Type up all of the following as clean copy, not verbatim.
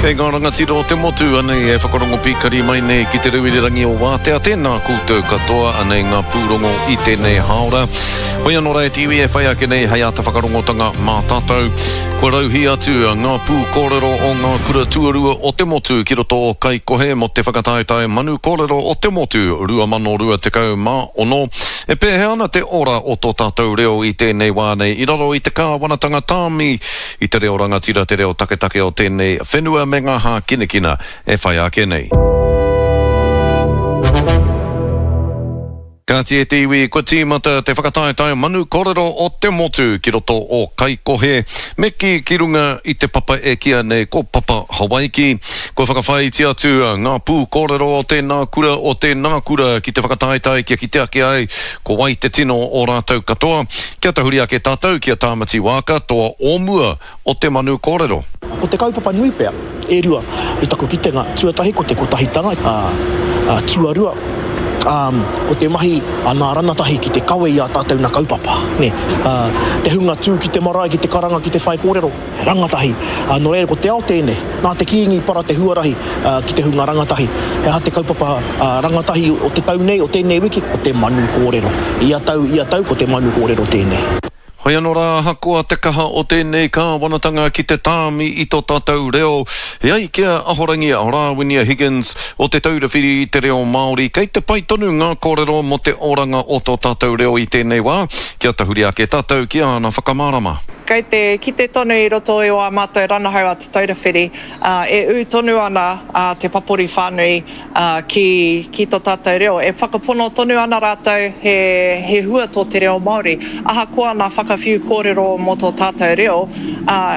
Kei ngā rangatira o te motu, anei e whakarongo pīkari mai nei ki te reo irirangi o Wātea, tēnā koutou katoa, anei ngā pūrongo i tēnei hāora. Hoi anō rā e te iwi e whai ake nei hei āta whakarongotanga mā tātou. Kua rauhī atu ngā pūkōrero o ngā kura tuarua o te motu ki roto o Kaikohe mō te whakataetae Manu Kōrero o te Motu 2026. E pēhea ana te ora o tō tātou reo i tēnei wā nei i raro i te kāwanatanga tāmi I te reo rangatira te reo taketake o tēnei whenua me ngā hākinakina e whai ake nei. Kāti e te iwi, kua tīmata te whakataetae manu korero o te motu ki roto o Kaikohe, me kī ki runga i te papa e kīa nei ko Papa Hawaiki. Kua whakawhāiti atu ngā pū kōrero o tēnā kura, o tēnā kura ki te whakataetae kia kite ake ai Ko wai te tino o rātou katoa? Kia tahuri ake tātou ki a Tāmati Waaka, toa o mua o te manu kōrero. Ko te kaupapa nui pea, e rua, i taku kitenga, tuatahi ko te kotahitanga, ā, tuarua, ā, ko te mahi a nā ranatahi ki te kawe i ā tātou na kaupapa, nē. Ā, te hunga tū ki te marae, ki te karanga, ki te whaikōrero. Rangatahi. Ā, nō reira, ko te ao tēnei. Nā te Kīngi i para te huarahi ki te hunga rangatahi. He aha te kaupapa rangatahi o te tau nei, o tēnei wiki? Ko te manu kōrero. Ia tau, ia tau, ko te manu kōrero tēnei. Hoi anō rā, ahakoa te kaha o tēnei kāwanatanga ki te tāmi i tō tātou reo, e ai ki a Ahorangi Rāwinia Higgins o Te Taura Whiri i te Reo Māori, kei te pai tonu ngā kōrero mō te oranga o tō tātou reo i tēnei wā, kia tahuri ake tātou ki āna whakamārama. Kei te kite tonu i roto i ā mātou ranahau a Te Taura Whiri, e ū tonu ana te papori whānui ki, ki tō tātou reo. E whakapono tonu ana rātou he, he hua tō te reo Māori. Ahakoa nā whakawhiu kōrero mō tō tātou reo,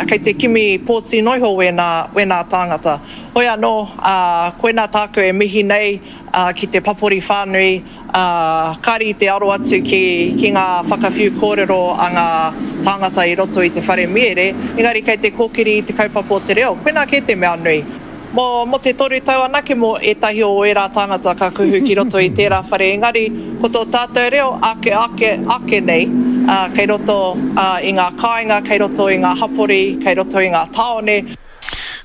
kei te kimi pōti noiho wēnā, wēnā tāngata. Hoi anō, koinā tāku e mihi nei ki te papori whānui, ā, kāre i te aro atu ki, ki ngā whakawhiu kōrero a ngā tāngata i roto i te whare miere, engari kei te kōkiri i te kaupapa o te reo. Koinā kē te mea nui. Mō, mō te toru tau anake mō ētahi o ērā tāngata ka kuhu ki roto i tērā whare, engari ko tō tātou reo ake, ake, ake nei, ā, kei roto, ā, i ngā kāinga, kei roto i ngā hapori, kei roto i ngā tāone.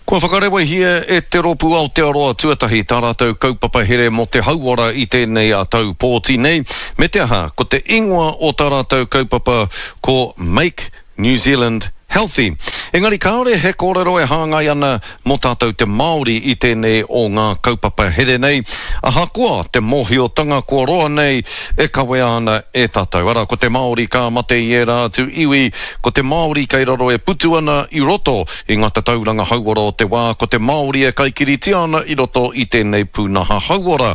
Kua whakarewahia e Te Rōpū Aotearoa Tuatahi tā rātou kaupapa here mō te hauora i tēnei tau pōti nei, me te aha, ko te ingoa o tā rātou kaupapa ko Make New Zealand Healthy. Engari kāore he kōrero e hāngai ana mō tātou te Māori i tēnei o ngā kaupapa here nei, ahakoa te mōhiotanga kua roa nei e kawea ana e tātou. Arā, ko te Māori ka mate i ērā atu iwi, ko te Māori kei raro e putu ana i roto I ngā tatauranga hauora o te wā, ko te Māori e kaikiritia ana i roto i tēnei pūnaha hauora.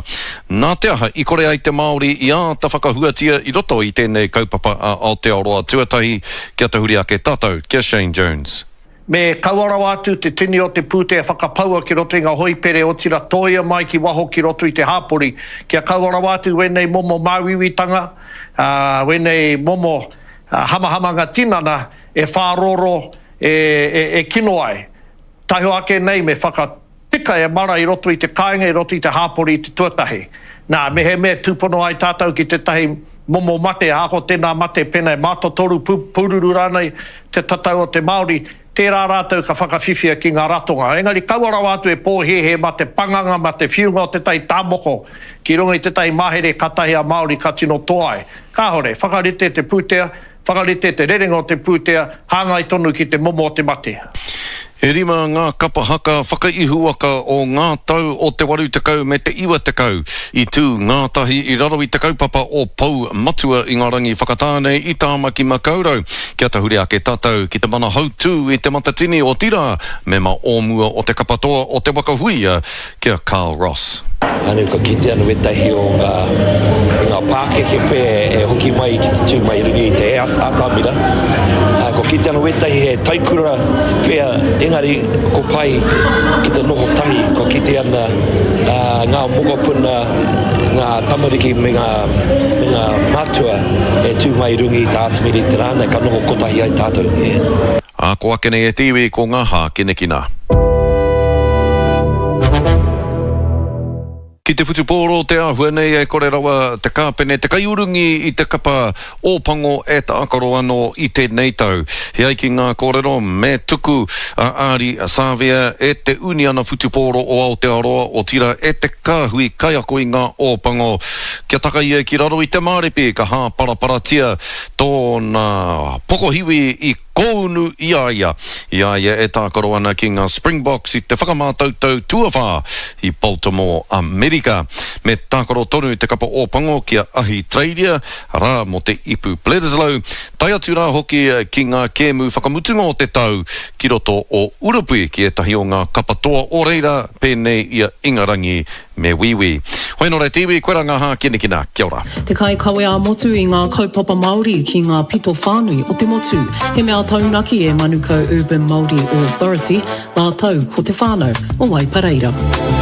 Nā te aha i kore ai te Māori i āta whakahuatia i roto i tēnei kaupapa a Aotearoa Tuatahi? Kia tahuri ake tātou ki a Shane Jones. Me kaua rawa atu te tini o te pūtea e whakapaua ki roto i ngā hoipere otira tōia mai ki waho ki roto i te hāpori kia kaua rawa atu wēnei momo māuiuitanga, ā, wēnei momo hamahamanga tinana e whārōrō e, e, e kino ai. Taihoa ake nei me whakatika e mara i roto i te kāinga, i roto i te hāpori i te tuatahi. Nā, mehemea tūpono ai tātou ki tētahi momo mate, ahakoa tēnā mate pēnā e mātotoru, pū, pūruru rānei te tatau o te Māori, tērā rātou ka whakawhiwhia ki ngā ratonga. Engari kaua rawa atu e pōhēhē mā te panganga, mā te whiunga o tētahi tāmoko ki runga i tētahi mahere kātahi a Māori ka tino toa ai. Kāore, whakarite te pūtea, Whakarite te rerenga o te pūtea hāngai tonu ki te momo o te mate. E rima ngā kapa haka whakaihuwaka o ngā tau o te 80 me te 90 i tū ngātahi i raro i te kaupapa o Pou Matua i ngā rangi whakatā nei i Tāmaki Makaurau. Kia tahuri ake tātou ki te mana hautū i Te Matatini, otirā, mema o mua o te kapa toa o Te Waka Huia, ki a Carl Ross. Anu ka kite anu wetahi o nga nga pakeke pe e hoki mai ki te tu mai runga i te atamira. Ko kite anu wetahi he taikura pea engari ko pai ki te noho tahi ko kite ana nga mokopuna nga tamariki me nga me nga matua e tu mai runga i te atamira i te ra nei ka noho kotahi ai tatou. Ā, ko ake nei e te iwi ko ngā hākinakina. Ki te whutupōro te āhua nei e kore rawa te kāpene te kaiurungi i te kapa Ōpango e tākaro anō i tēnei tau. He ai ki ngā kōrero me tuku a Ardie Savea e te Uniana Whutupōro o Aotearoa, otirā e te kāhui kaiako i ngā Ōpango kia taka ia ki raro i te māripi ka hāparaparatia tōna pokohiwi i kōunu i a ia, i a ia e tākaro ana ki ngā Springboks i te whakamātautau tuawhā i Baltimore, Amerika. Me tākaro tonu te kapa Ōpango ki a Ahitereiria, arā, mō te Ipu Bledisloe, tae atu rā hoki ki ngā kēmu whakamutunga o te tau ki roto o Urupuī ki ētahi o ngā kapa toa o reira pēnei i a Ingarangi me Wīwī. Hoi nō reira te iwi, koirā ngā hākinakina. Kia ora. Te kaikawe ā-motu i ngā kaupapa Māori ki ngā pito whānui o te motu. He mea taunaki e Manukau Urban Māori Authority rātou ko te whānau o Waipareira.